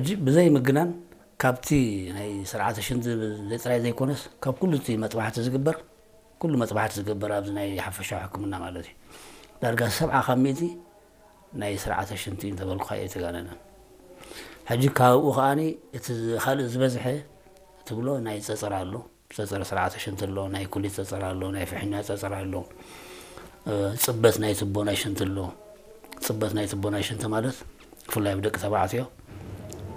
ሕጂ ብዘይ ምግናን ካብቲ ናይ ስርዓተ ሽንቲ ዘይ ጥራይ ዘይኮነስ ካብ ኩሉ እቲ መጥባሕቲ ዝግበር፣ ኩሉ መጥባሕቲ ዝግበር ኣብዚ ናይ ሓፈሻዊ ሕክምና ማለት እዩ፣ ዳርጋ ሰብዓ ካብ ሚእቲ ናይ ስርዓተ ሽንቲ እንተበልኩኻ እየ ተጋነነ። ሕጂ ካብኡ ከዓኒ እቲ ካልእ ዝበዝሐ ትብሎ ናይ ጸጸር ኣሎ። ጸጸር ስርዓተ ሽንቲ ኣሎ፣ ናይ ኩሊት ጸጸር ኣሎ፣ ናይ ፍሕኛ ጸጸር ኣሎ፣ ጽበት ናይ ትቦ ናይ ሽንቲ ኣሎ። ጽበት ናይ ትቦ ናይ ሽንቲ ማለት ብፍላይ ኣብ ደቂ ተባዕትዮ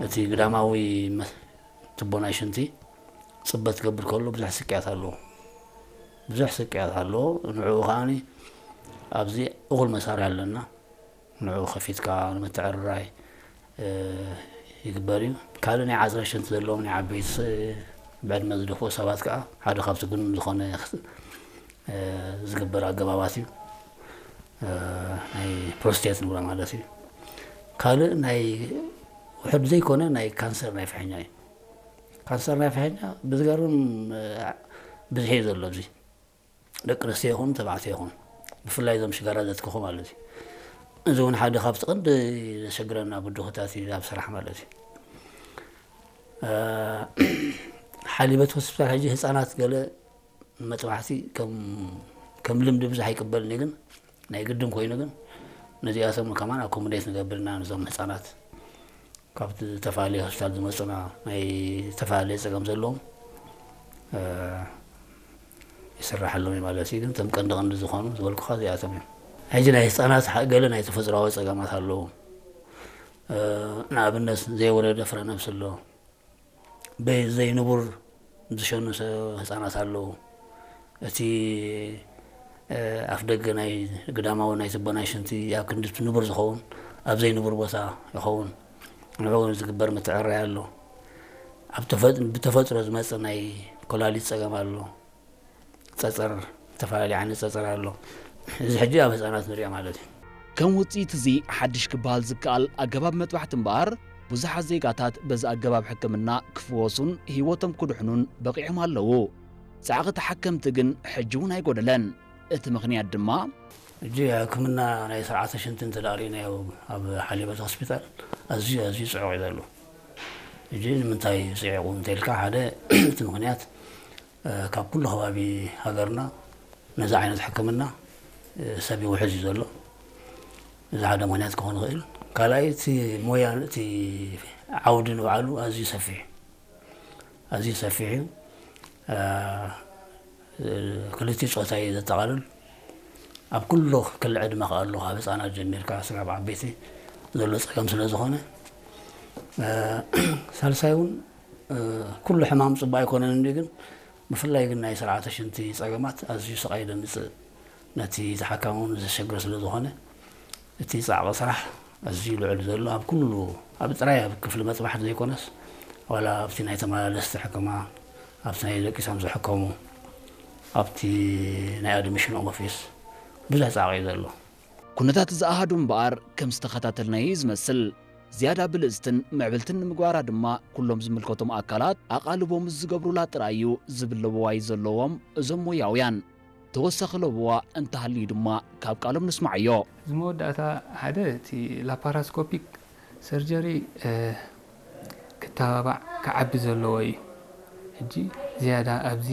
እቲ ግዳማዊ መ- ትቦ ናይ ሽንቲ ጽበት ክገብር ከሎ ብዙሕ ስቅያት ኣለዎ። ብዙሕ ስቅያት ኣለዎ። ንዕኡ ከዓኒ ኣብዚ እኹል መሳርሒ ኣለና። ንዕኡ ከፊትካ ንምትዕርራይ ይግበር እዩ። ካልእ ናይ ዓጽረ ሽንቲ ዘለዎም ናይ ዓበይቲ ብዕድመ ዝደፍኡ ሰባት ከዓ ሓደ ካብቲ ግኑን ዝኾነ ዝግበር ኣገባባት እዩ። ናይ ፕሮስቴት ንብሎ ማለት እዩ። ካልእ ናይ ውሕድ ዘይኮነ ናይ ካንሰር ናይ ፍሕኛ እዩ። ካንሰር ናይ ፍሕኛ ብዝገርም ብዝሒ እዩ ዘሎ ኣብዚ ደቂ ኣንስትዮ ይኹን ተባዕትዮ ይኹን ብፍላይ እዞም ሽጋራ ዘትክኹ ማለት እዩ። እዚ እውን ሓደ ካብቲ ቀንዲ ዘሸግረና ብድኹታት እዩ ኣብ ስራሕ ማለት እዩ። ሓሊበት ሆስፒታል ሕጂ ህፃናት ገለ መጥባሕቲ ከም ልምዲ ብዙሕ ኣይቅበልን እዩ፣ ግን ናይ ግድን ኮይኑ ግን ነዚኣቶም ከማን ኣኮሞዴት ንገብር ኢና። ነዞም ህፃናት ካብ ዝተፈላለየ ሆስፒታል ዝመፁና ናይ ዝተፈላለየ ፀገም ዘለዎም ይስራሐሎም እዩ ማለት እዩ። ግን እቶም ቀንዲ ቀንዲ ዝኾኑ ዝበልኩኻ እዚኣቶም እዮም። ሕጂ ናይ ህፃናት ገለ ናይ ተፈጥሯዊ ፀገማት ኣለዎም። ንኣብነት ዘይወለደ ፍረ ነብሲ ኣሎ። ዘይንቡር ዝሸኑ ህፃናት ኣለዉ። እቲ ኣፍ ደገ ናይ ግዳማዊ ናይ ትቦ ናይ ሽንቲ ኣብ ክንዲ እቲ ንቡር ዝኸውን ኣብ ዘይንቡር ቦታ ይኸውን። ንዕኡ ዝግበር ምትዕርራይ ኣሎ። ኣብ ተፈጥ- ብተፈጥሮ ዝመፅእ ናይ ኮላሊት ፀገም ኣሎ። ፀፀር፣ ዝተፈላለዩ ዓይነት ፀፀር ኣሎ። እዚ ሕጂ ኣብ ህፃናት ንሪኦ ማለት እዩ። ከም ውፅኢት እዚ ሓድሽ ክበሃል ዝከኣል ኣገባብ መጥባሕቲ እምበኣር ብዙሓት ዜጋታት በዚ ኣገባብ ሕክምና ክፍወሱን ህይወቶም ክድሕኑን በቒዖም ኣለዉ። ፃዕቒ ተሓከምቲ ግን ሕጂ እውን ኣይጎደለን። እቲ ምኽንያት ድማ ሕጂ ሕክምና ናይ ስርዓተ ሽንቲ እንተ ደኣ ርኢናዮ ኣብ ሓሊበት ሆስፒታል ኣዝዩ ኣዝዩ ፅዑቕ እዩ ዘሎ። ሕጂ ንምንታይ ፅዒቑ እንተኢልካ ሓደ እቲ ምኽንያት ካብ ኩሉ ከባቢ ሃገርና ነዚ ዓይነት ሕክምና ሰብ ይውሕዝ እዩ ዘሎ። እዚ ሓደ ምኽንያት ክኾን ይኽእል። ካልኣይ እቲ ሞያ እቲ ዓውዲ ንባዕሉ ኣዝዩ ሰፊሕ ኣዝዩ ሰፊሕ እዩ። ክልቲኡ ፆታ እዩ ዘጠቓልል። ኣብ ኩሉ ክሊ ዕድመ ከኣ ኣሎ፣ ካብ ህፃናት ጀሚርካ ስጋብ ዓበይቲ ዘሎ ፀገም ስለ ዝኾነ፣ ሳልሳይ እውን ኩሉ ሕማም ፅቡቅ ኣይኮነን እንዲ ግን ብፍላይ ግን ናይ ስርዓተ ሽንቲ ፀገማት ኣዝዩ ስቃይ ደምፅእ ነቲ ተሓካሚ እውን ዘሸግር ስለ ዝኾነ እቲ ፃዕቂ ስራሕ ኣዝዩ ልዑል ዘሎ ኣብ ኩሉ ኣብ ጥራይ ኣብ ክፍሊ መፅባሕቲ ዘይኮነስ ዋላ ኣብቲ ናይ ተመላለስቲ ሕክማ ኣብቲ ናይ ደቂሶም ዝሕከሙ ኣብቲ ናይ ኣድሚሽን ኦፊስ ብዙሕ ፃዕቂ እዩ ዘሎ። ኩነታት እዚ ኣሃዱ እምበኣር ከም ዝተኸታተልናዮ እዩ ዝመስል። ዝያዳ ብልጽትን ምዕብልትን ንምግባራ ድማ ኩሎም ዝምልከቶም ኣካላት ኣቓልቦ ምስ ዝገብሩላ ጥራይ እዩ ዝብል ለበዋ እዩ ዘለዎም እዞም ሞያውያን። ተወሳኺ ለበዋ እንተሃልዩ ድማ ካብ ቃሎም ንስምዓዮ። እዚ መወዳእታ ሓደ እቲ ላፓራስኮፒክ ሰርጀሪ ክተባባዕ ክዓቢ ዘለዎ እዩ። ሕጂ ዝያዳ ኣብዚ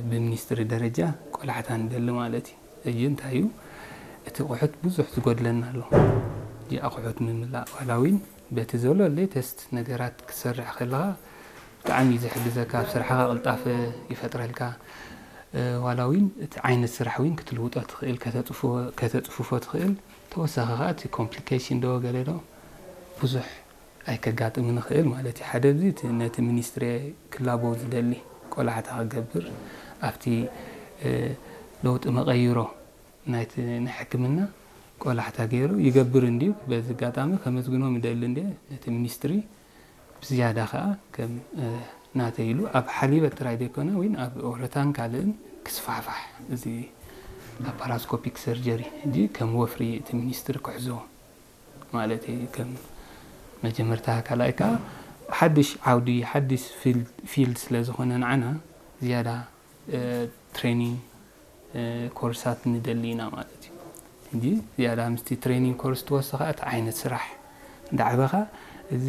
ብሚኒስትሪ ደረጃ ቆላሕታ ንደሊ ማለት እዩ። ሕጂ እንታይ እዩ እቲ ኣቑሑት ብዙሕ ዝጎድለና ኣሎ። ሕጂ ኣቑሑት ምምላእ ዋላ እውን በቲ ዘሎ ሌተስት ነገራት ክትሰርሕ ከለኻ ብጣዕሚ እዩ ዝሕግዘካ፣ ኣብ ስራሕኻ ቅልጣፈ ይፈጥረልካ። ዋላ እውን እቲ ዓይነት ስራሕ እውን ክትልውጦ ትኽእል፣ ከተፅፍፎ ትኽእል። ተወሳኺ ከዓ እቲ ኮምፕሊኬሽን ዶ ገለ ዶ ብዙሕ ኣይከጋጥምን ይኽእል ማለት እዩ። ሓደ እዚ እቲ ነቲ ሚኒስትሪ ክላቦ ዝደሊ ቆላሕታ ክገብር ኣብቲ ለውጢ መቐይሮ ናይቲ ናይ ሕክምና ቆላሕታ ገይሩ ይገብር እንድዩ። በዚ ኣጋጣሚ ከመስግኖም ይደሊ እንድየ ነቲ ሚኒስትሪ ብዝያዳ ከዓ ከም ናተይ ኢሉ ኣብ ሓሊበት ጥራይ ዘይኮነ እውን ኣብ ኦረታን ካልእን ክስፋሕፋሕ እዚ ላፓራስኮፒክ ሰርጀሪ ሕጂ ከም ወፍሪ እቲ ሚኒስትሪ ክሕዞ ማለት እዩ። ከም መጀመርታ ካልኣይ ከዓ ሓድሽ ዓውዲ ሓድሽ ፊልድ ስለ ዝኾነ ንዓና ዝያዳ ትሬኒንግ ኮርሳት ንደሊ ኢና ማለት እዩ። ሕጂ ዝያዳ ምስቲ ትሬኒንግ ኮርስ ትወስኻ እቲ ዓይነት ስራሕ እንዳዕበኻ እዚ